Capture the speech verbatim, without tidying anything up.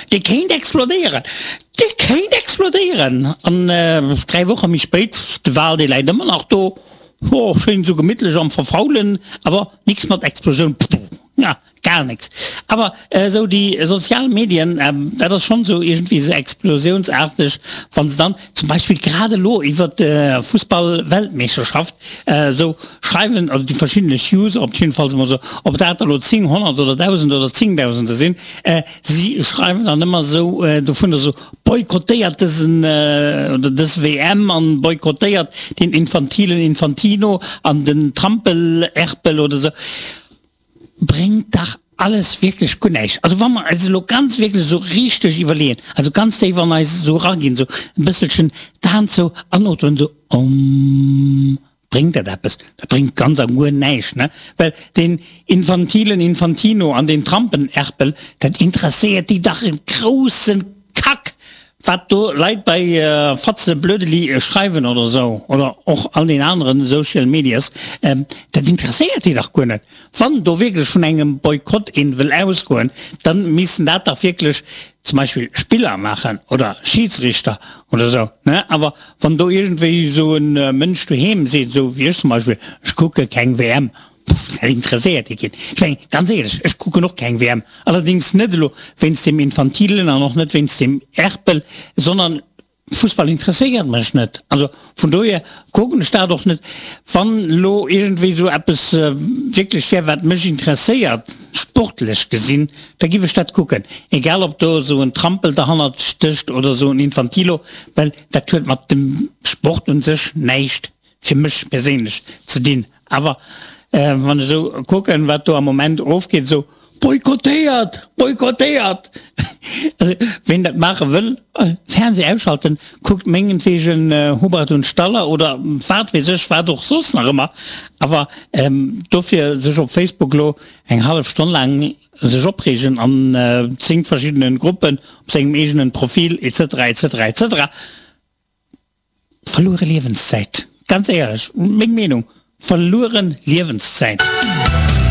Dee kéint explodéieren! Dee kéint explodéieren! An dräi Woche méi spéit, de Wal, dee läit ëmmer nach do, ho, schéin esou gemittlech am Verfaulen, awer nix mat Explosioun, pfff, ja, gar nix. Awer esou déi sozial Medien, dat ass schonn esou iergendwéi esou explosiounsaarteg, wann se dann zum Beispill grad elo iwwert d'Fussball-Weltmeeschterschaft esou schreiwen, oder déi verschiddenlech User op jiddefalls emol esou, ob dat elo zéng, honnert oder dausend oder zéngdausende sinn, si schreiwen dann ëmmer esou dovunner esou, Boykottéiert dësen oder dës W M an boykottéiert den infantilen Infantino an den Trampel-Erpel oder esou. Bréngt dach alles wierklech guer näischt. Also wa mer eis elo ganz wierklech esou richteg iwwerleeën, also ganz déif an eis esou eraginn, esou e bësselchen d'Aen zou an ootmen, esou Omm. Bréngt dat eppes? Dat bréngt ganz a guer näischt, ne? Well deen infantilen Infantino an deen Trampenerpel, dat interesséiert déi dach e grousse Kack, wat do Leit bei Fatzeblödeli schreiwen oder esou, oder och all den aneren Social Medias, dat interesséiert déi dach guer net. Wann do wierklech vun engem Boykott een wëll ausgoen, dann missten dat dach wierklech zum Beispill Spiller maachen oder Schiedsrichter oder esou, ne? Awer wann do iergendwéi esou e Mënsch doheem seet, esou wéi ech zum Beispill, ech kucke keng W M, pff, dat interesséiert dee keen. Ech mengen, ganz éierlech, ech kucken och keng W M, allerdéngs net elo wéinst deem Infantilen an och net wéinst deem Erpel, sondern Fussball interesséiert mech net, also vun dohier kucken ech dat och net. Wann elo iergendwéi esou eppes wierklech wär, wat mech interesséiert, sportlech gesinn, da giff ech dat kucken, egal ob do esou en Trampel derhannert stécht oder esou en Infantilo, well dat huet mat dem Sport un sech näischt, fir mech perséinlech, ze dinn. Awer wann ech esou kucken, wat do am Moment ofgeet, esou Boykottéiert! Boykottéiert! Also, ween dat maache wëll, Fernseh ausschalten, kuckt mengenwegen Hubert und Staller oder wat weess ech wat och soss nach ëmmer, awer dofir sech op Facebook lo eng hallef Stonn laang sech opreegen an zéng verschiddenen Gruppen op sengem eegenen Profil etc etc etc. Verluere Liewenszäit, ganz éierlech, meng Meenung, verlueren Liewenszäit.